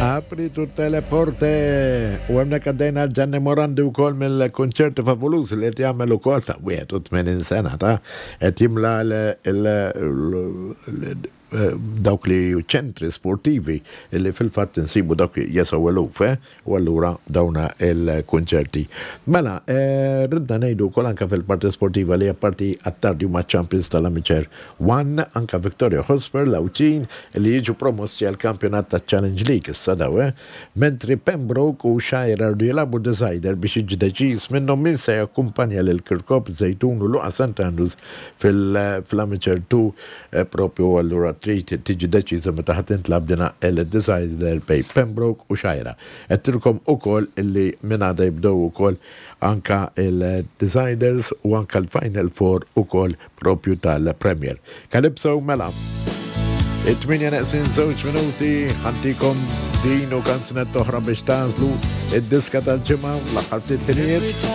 Apri tutte le porte. U hemmhekk għaddejna Gianni Morandi wkoll mill-kunċerti favoluż li qed jagħmel ukoll ta' 81 sena ta' qed jimla dawk li ċentri sportivi li fil-fatt insibu dawk jesgħu eluf, eh? U allura dawna il-kunċerti. Mela, ridna ngħidu wkoll anke fil-parti sportiva li apparti Attard huma champions tal-Amateur One, anke Victoria Hotspur l-Għawdxin li jiġu promossi għall-kampjonat taċ-Challenge League issa daw, eh? Mentri Pembroke u Xgħajra rdu jilagħbu decider biex jiġi deċiż minnhom min se jakkumpanja lil Kirkop, Żejtun u Luqa St Andrews fil-Amateur 2 Propju allura trid tiġi deċiża meta ħa tintlagħab dina il-decider bejn Pembroke u Xgħajra. Għedtilkom ukoll illi minn għada jibdew ukoll anka il-deciders u anka l-Final Four ukoll propju tal-Premier. Calypso mela. It-tmienja neqsin żewġ minuti ħantikom din u kanzunetta oħra biex tagħżlu id-diska tal-ġimgħa l-aħħar ftit ħinijiet.